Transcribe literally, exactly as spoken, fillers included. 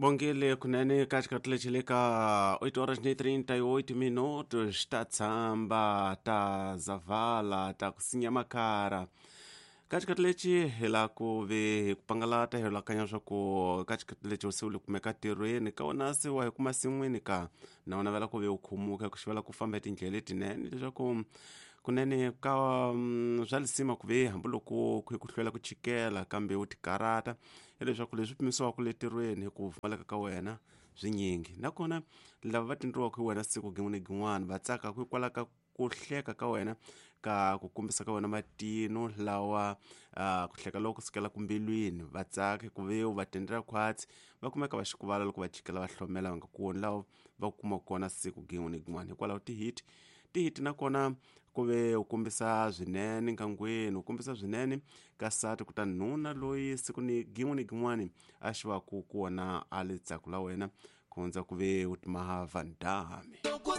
Bongile kunene ka xikhathi lexi le ka oito horas ni trinta e oito minutos, ta tshamba ta zavala ta ku sinya makara. Ka xikhathi lexi hi la ku ve hi ku pangalata hi lakanya swa ku ka xikhathi lexi se u le kumeka ntirhweni ka wona se wa hi kuma sin'wini ka na u navela ku ve u khumuka ku xivela ku famba hi tindlela letinene leswaku kunene ka mm, swa lisima ku ve hambiloko ku ku hlwela ku chikela kambe u tikarata hileswaku leswi pimisiwaka le ntirhweni hi ku pfumaleka ka wena swinyingi nakona lava va tindriwaka hi wena siku gin'wana ni gin'wana va tsaka hikwalaho ka ku hleka ka wena ka ku kombisa ka wena matino lawa uh, ku hleka loko kusukela kumbilwini va tsaka ku ve u va tendela khwatsi va kumeka va xikuvala loko va chikela va hlomela va nga koni lawa va kuma kona siku gin'wana ni gin'wana hikwalaho tihiti tihiti nakona ku ve u kombisa swinene nkangweni u kombisa swinene ka nsati kutani nuna loyi siku ni gin'we ni gin'wani a xi va ku kona a le tsaku la wena ku hundza ku ve u timaha van dame.